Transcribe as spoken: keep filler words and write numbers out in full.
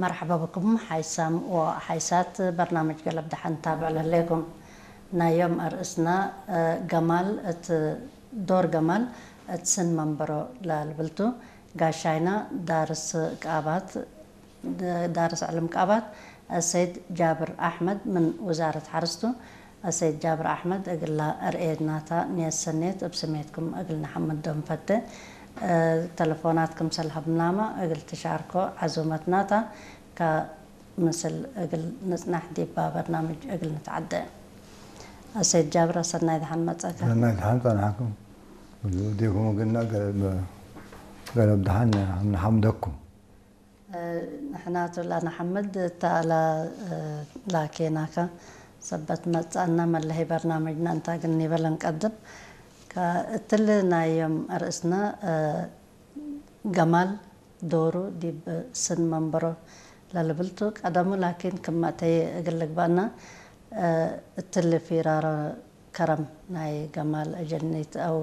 መርሐባ ብኩም ሓይሳም ወሓይሳት በርናምጅ ገለብ ደሐን ታብዕ ለህሌኩም። ናይ ዮም አርእስና፣ እ፣ ገማል እት፣ ዶር ገማል እት ስን መንበሮ ለልብል ቱ። ጋሻይና ዳርስ ቃባት፣ ዳርስ ዕልም ቃባት አሰይድ ጃብር አሕመድ ምን ውዛረት ሐርስ ቱ። አሰይድ ጃብር አሕመድ፣ እግላ አርኤናታ ንየት ሰኔት እብ ስሜትኩም እግል ነሐምዶ እንፈቴ። እ፣ ተለፎናት ክምሰል ሀብናመ እግል ትሻርኮ ዐዙመትና ተ። ከምስል እግል ንጽናሕ ዲባ በርናምጅ እግል ንትዐደ። አሰይድ ጃብር፣ ሰናይ ደሐን መጸእከ። ሰናይ ደሐን ጸንሐኩም። እዴኩም እግልና ገለብ፣ ገለብ ደሐን ነሐምደኩም። እ፣ ንሕናቱ ለነሐምድ እተ አላ፣ እ፣ ላኬናከ ሰበት መጽአነ መለሀይ በርናምጅነ እንተ እግል ኒበ ለንቀድም። ከእትሊ ናይ ዮም አርእስነ፣ እ፣ ገማል ዶሩ ዲብ ስን መንበሮ ለልብል ቱ። ቀደሙ ላኪን ክም አተየ እግል ልግበአነ፣ እ፣ እትሊ ፊራሮ ከረም ናይ ገማል አጀኒት አው